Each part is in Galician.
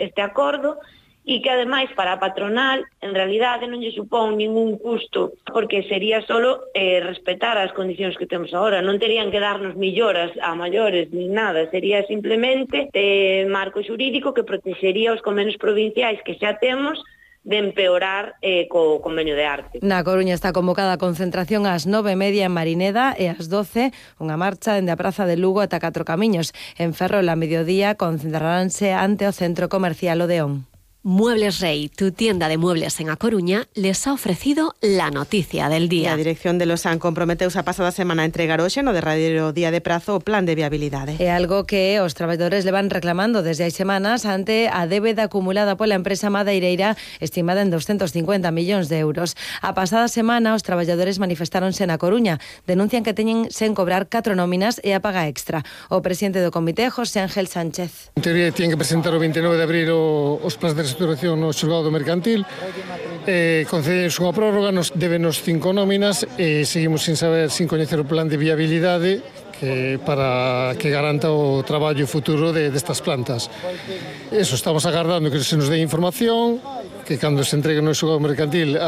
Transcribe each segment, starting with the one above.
este acordo, e que ademais para a patronal en realidade non lle supón ningún custo, porque sería solo respetar as condicións que temos agora, non terían que darnos melloras a maiores ni nada, sería simplemente marco xurídico que protexería os convenios provinciais que xa temos de empeorar co convenio de arte. Na Coruña está convocada a concentración ás 9:30 en Marineda e ás 12 unha marcha dende a Praza de Lugo ata Catro Camiños. En Ferrol a mediodía concentraránse ante o Centro Comercial Odeón. Muebles Rey, tu tienda de muebles en A Coruña, les ha ofrecido la noticia del día. A dirección de Losán comprometeuse a pasada semana a entregar hoxe no derradeiro día de prazo o plan de viabilidade. É algo que os traballadores levan reclamando desde hai semanas ante a débeda acumulada pola empresa madeireira estimada en 250 millóns de euros. A pasada semana os traballadores manifestáronse na Coruña, denuncian que teñen sen cobrar 4 nóminas e a paga extra. O presidente do comité, José Ángel Sánchez. En teoría tienen que presentar o 29 de abril os plans de restauración no xulgado mercantil, concedemos unha prórroga, nos débenos 5 nóminas e seguimos sin coñecer o plan de viabilidade para que garanta o traballo futuro destas plantas. Eso, estamos agardando que se nos dé información, que cando se entregue no xulgado mercantil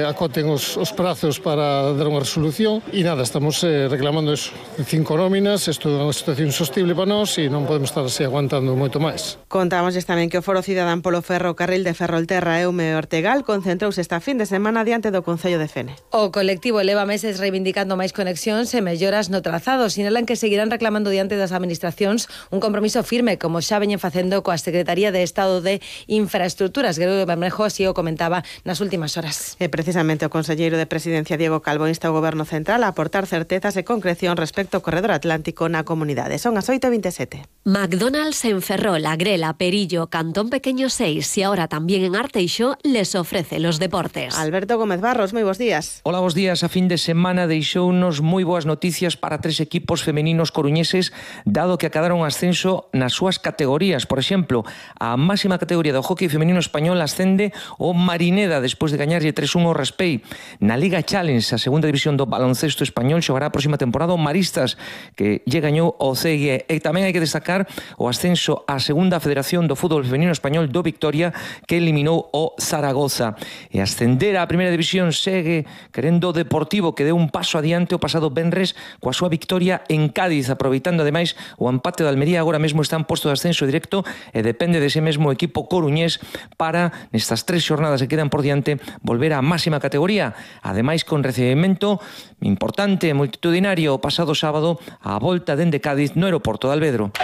acoten os prazos para dar unha resolución e nada, estamos reclamando eso, 5 nóminas. Isto é unha situación insostible para nós e non podemos estar así aguantando moito máis. Contámosles tamén que o Foro Cidadán polo Ferrocarril de Ferrolterra Eume Ortegal concentrouse esta fin de semana diante do Concello de Fene. O colectivo leva meses reivindicando máis conexións e melloras no trazado. Sinalan que seguirán reclamando diante das administracións un compromiso firme, como xa veñen facendo coa Secretaría de Estado de Infraestructuras. Gregorio Bermejo así o comentaba nas últimas horas. E precisamente o conselleiro de Presidencia Diego Calvo insta o Goberno Central a aportar certezas e concreción respecto ao corredor atlántico na comunidade. Son as 8:27. McDonald's en Ferrol, Agrela, Perillo, Cantón Pequeño 6 y ahora también en Arteixo les ofrece los deportes. Alberto Gómez Barros, moi bons días. Hola, bons días. A fin de semana deixounos moi boas noticias para 3 equipos femeninos coruñeses, dado que acadaron ascenso nas súas categorías. Por exemplo, a máxima categoría do hockey femenino español ascende o Marineda despois de gañarlle 3-1 ao Raspei. Na Liga Challenge, a segunda división do baloncesto español, xogará a próxima temporada o Maristas, que lle gañou o CG. E tamén hai que destacar o ascenso á segunda federación do fútbol femenino español do Victoria, que eliminou o Zaragoza. E ascender á primeira división segue querendo o Deportivo, que deu un paso adiante o pasado venres coa súa victoria en Cádiz, aproveitando ademais o empate de Almería. Agora mesmo está en posto de ascenso directo e depende dese mesmo equipo coruñés para, nestas 3 xornadas que quedan por diante, volver á máxima categoría. Ademais, con recibimento importante e multitudinario o pasado sábado á volta dende Cádiz no aeroporto de Alvedro.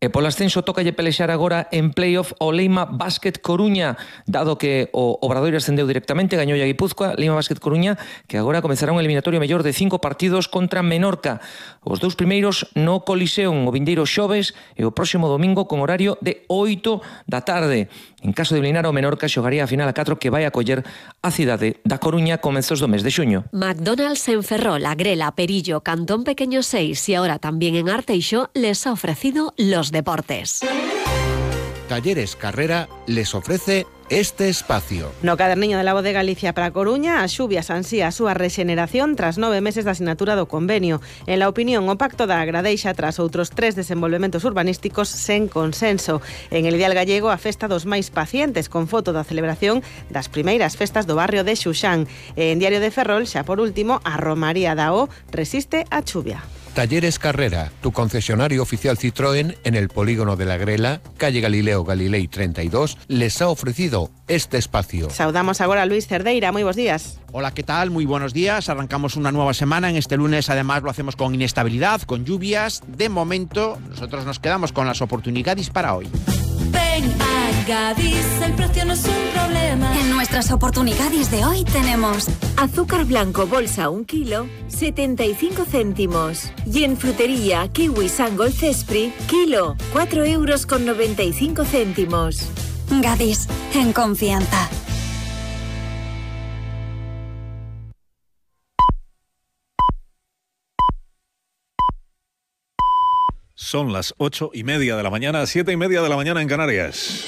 E polo ascenso tócalle pelexar agora en playoff o Leima Basket Coruña, dado que o Obradoiro ascendeu directamente, gañou a Guipúzcoa. Leima Basket Coruña, que agora comezará un eliminatorio mellor de 5 partidos contra Menorca. Os 2 primeiros no Coliseum, o vindeiro xoves e o próximo domingo con horario de 8 da tarde. En caso de eliminar o Menorca, xogaría a final a 4 que vai acoller a cidade da Coruña comezos do mes de xuño. McDonald's en Ferrol, Agrela, Perillo, Cantón Pequeño 6 y ahora también en Arteixo les ha ofrecido los deportes. Talleres Carrera les ofrece este espacio. No caderniño de la Voz de Galicia para Coruña, as xubias ansía a súa rexeneración tras 9 meses da asinatura do convenio. En la opinión, o pacto da Agradeixa tras outros 3 desenvolvementos urbanísticos sen consenso. En el Ideal Gallego, a festa dos máis pacientes, con foto da celebración das primeiras festas do barrio de Xuxán. En Diario de Ferrol, xa por último, a Romaría da O resiste a chuvia. Talleres Carrera, tu concesionario oficial Citroën en el polígono de la Grela, calle Galileo Galilei 32, les ha ofrecido este espacio. Saudamos agora a Luis Cerdeira, moi bons días. Hola, ¿qué tal? Muy buenos días. Arrancamos una nueva semana. En este lunes, además, lo hacemos con inestabilidad, con lluvias. De momento, nosotros nos quedamos con las oportunidades para hoy. Ven a Gadis, el precio no es un problema. En nuestras oportunidades de hoy tenemos azúcar blanco bolsa 1 kilo, 75 céntimos. Y en frutería, kiwi Sangol Cespri, kilo, 4,95 €. Gadis, en confianza. Son las 8:30 de la mañana, 7:30 de la mañana en Canarias.